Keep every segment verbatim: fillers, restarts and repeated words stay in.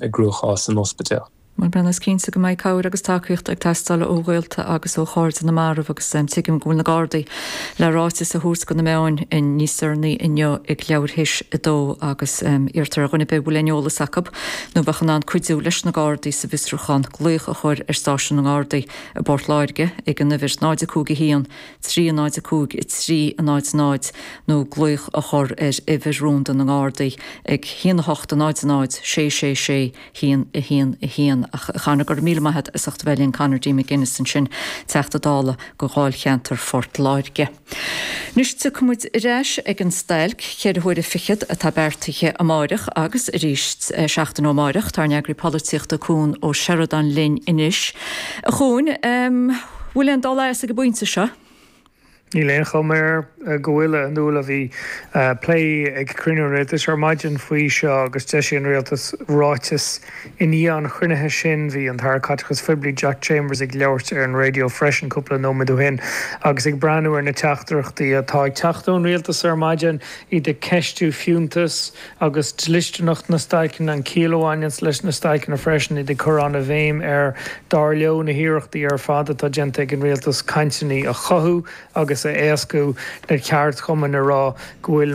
i gcruachás san ospidéal. Bhuel, Breandán, is cinnte go mbeidh cabhair agus tacaíocht ag teastáil ó ghaolta agus ó chairde na marbh agus tuigim go bhfuil na Gardaí le ráiteas a thabhairt do na meáin níos deireanaí inniu ag leathuair théis a dó agus iarrtar ar dhuine ar bith a bhfuil aon eolas acu nó bheadh in ann cuidiú leis na Gardaí sa bhfiosrúchán glaoch a chur ar stáisiún na nGardaí i bPort Láirge ag an uimhir náid a cúig a haon trí náid a cúig a trí náid náid nó glaoch a chur ar uimhir rúnda na nGardaí ag haon a hocht a náid náid sé sé sé haon a haon a haon. Ach a Chonor, go raibh míle maith agat as ucht a bheith linn Conor D. McGuinness ansin, Teachta Dála do Dháilcheantar Phort Láirge. Anois tiocfaidh muid ar ais ag an stailc ceithre huaire fichead atá beartaithe amáireach agus arís seachtain ó amáireach tá ár n-eagraí polaitíochta Cuan Ó Seireadáin linn anois. A Chuain, bhfuil aon dul as ag an bpointe seo? Níl aon chuma air go bhfuil, a Fhionnuala. Bhí plé ag cruinniú an rialtais ar maidin faoi seo agus d'eisigh an rialtas ráiteas i ndiaidh an chruinnithe sin. Bhí an tAire Caiteachais Phoiblí Jack Chambers ag labhairt ar an raidió freisin cúpla nóiméad ó shin agus ag breathnú ar na teachtaireachtaí atá ag teacht ón rialtas ar maidin, iad ag ceistiú fiúntas agus dlisteanacht na stailceanna, an chiall a bhaineanns leis na stailceanna freisin, iad ag cur an-bhéim ar, dar leo, na hiarrachtaí ar fad atá déanta ag an rialtas cainteanna a chothú agus a éascú, na ceardchumainn ag rá go bhfuil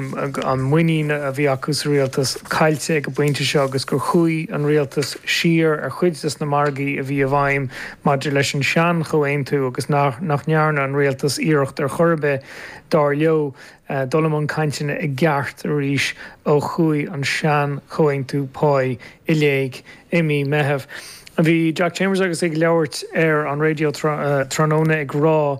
an muinín a bhí acu sa rialtas caillte ag an bpointe seo agus gur chuaigh an rialtas siar ar chuid des na margaí a bhí i bhfeidhm maidir leis an sean-chomhaontú agus nach ndearna an rialtas iarracht ar chor ar bith, dar leo, dul i mbun cainteanna i gceart arís ó chuaigh an sean-chomhaontú páí i léig i mí Meitheamh. Bhí Jack Chambers agus é ag labhairt ar an raidió tráthnóna ag rá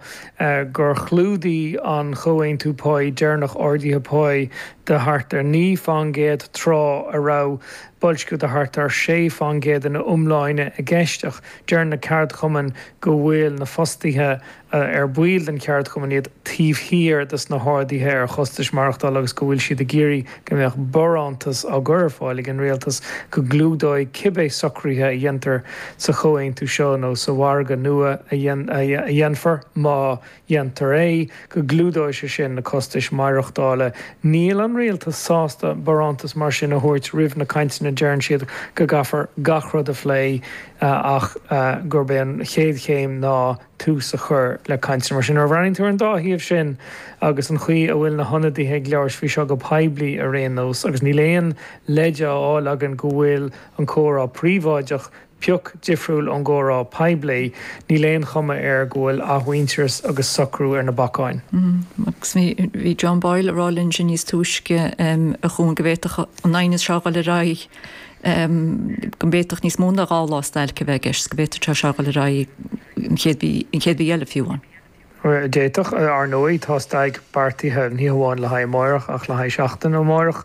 gur chlúdaigh an chomhaontú páí deireanach arduithe páí de thart ar naoi fán gcéad tráth a raibh boilsciú de thart ar sé fán gcéad ina iomláine i gceist ach deir na ceardchumainn go bhfuil na fostaithe ar baill den cheardchumann iad taobh thiar des na harduithe ar chostais maireachtála agus go bhfuil siad ag iarraidh go mbeadh barántas á gcur ar fáil ag an rialtas go gclúdóidh cibé socruithe a dhéantar sa chomhaontú seo nó sa mhargadh nua a dhéanfar, má dhéantar é, go gclúdóidh sé sin na costais maireachtála. Níl an rialtas sásta barántas mar sin a thabhairt roimh na cainteanna, deireann siad go gcaithfear gach rud a phlé ach gurb é an chéad chéim ná tús a chur le cainteanna. Mar sin, nuair a bhreathnaíonn tú ar an dá thaobh sin agus an chaoi a bhfuil na hionadaithe ag labhairt faoi seo go poiblí ar aon nós, agus níl aon leid á fháil againn go bhfuil an comhrá príobháideach pioc difriúil ón gcomhrá poiblí, níl aon chuma air go bhfuil athmhuintearas agus socrú ar na bacáin. Agus bhí John Boyle ag rá linn sin níos túisce, a Chuain, go bhféadfadh an aighneas seo a dhul ar aghaidh, go bhféadfadh níos mó ná dhá lá stailce a bheith i gceist, go bhféadfadh sé seo a dhul ar aghaidh an chéad mhí, an chéad mhí eile fiú amháin. D'fhéadfadh. Ar ndóigh, tá stailc beartaithe ní hamháin le haghaidh amáireach ach le haghaidh seachtain ó amárach.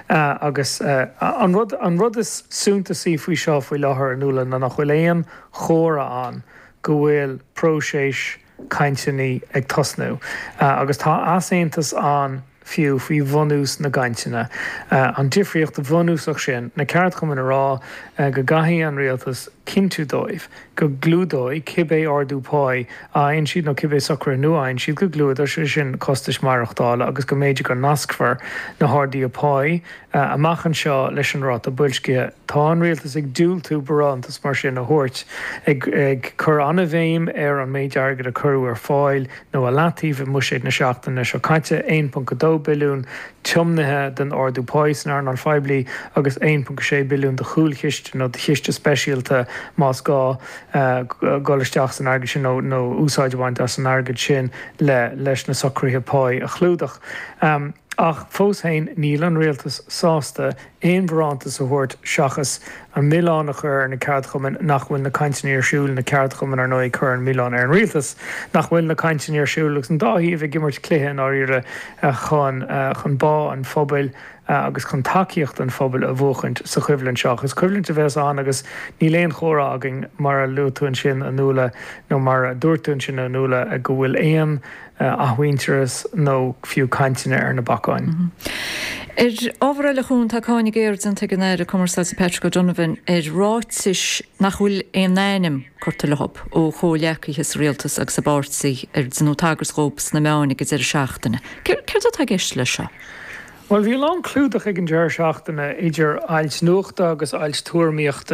Agus an rud, an rud is suntasaí faoi seo faoi láthair, a Fhionnuala, ná nach bhfuil aon chomhartha ann go bhfuil próiseas cainteanna ag tosnú. Agus tá easaontas ann fiú faoi bhunús na gcainteanna. An difríocht bhunúsach sin, na ceardchumainn ag rá go gcaithfidh an rialtas cinntiú dóibh go gclúdóidh cibé ardú páí a fhaigheann siad nó cibé socruithe nua a fhaigheann siad, go gclúdóidh sé sin costais maireachtála agus go mb'fhéidir go nascfar na harduithe páí amach anseo leis an ráta boilscithe. Tá an rialtas ag diúltú barántas mar sin a thabhairt, ag cur an-bhéim ar an méid airgid a cuireadh ar fáil nó i leataobh i mbuiséad na seachtaine seo caite, aon ponc a dó billiún tiomnaithe don ardú páí san earnáil phoiblí agus aon ponc a sé billiún do chúlchiste nó do chiste speisialta más gá dul isteach san airgead sin nó úsáid a bhaint as an airgead sin le leis na socruithe páí a chlúdach. Ach fós féin, níl an rialtas sásta aon bharántas a thabhairt seachas an milleán a chur ar na ceardchumainn nach bhfuil na cainteanna ar siúl, na ceardchumainn, ar ndóigh, ag cur an milleán ar an rialtas nach bhfuil na cainteanna ar siúl agus an dá thaobh ag imirt cluiche i ndáiríre chun chun bá an phobail agus chun tacaíocht an phobail a bhuachaint sa choimhlint seo. Ach is coimhlint a bheas ann agus níl aon chomhartha againn, mar a luaigh tú ansin, a Fhionnuala, nó mar a dúirt tú ansin, a Fhionnuala, go bhfuil aon athmhuintearas nó fiú cainteanna ar na bacáin. Ar ábhar eile, a Chuain, tá cáineadh géar déanta ag an Aire Cumarsáide Patrick O'Donovan ar ráitis nach bhfuil aon ainm curtha leo ó chomhghleacaithe sa rialtas agus i bpáirtí ar deineadh tagairt dhóibh sna meáin ag an deireadh seachtaine. Céard atá i gceist leis seo? Well bhí a lán clúdach ag an deireadh seachtaine idir ailt nuachta agus ailt tuairimíochta.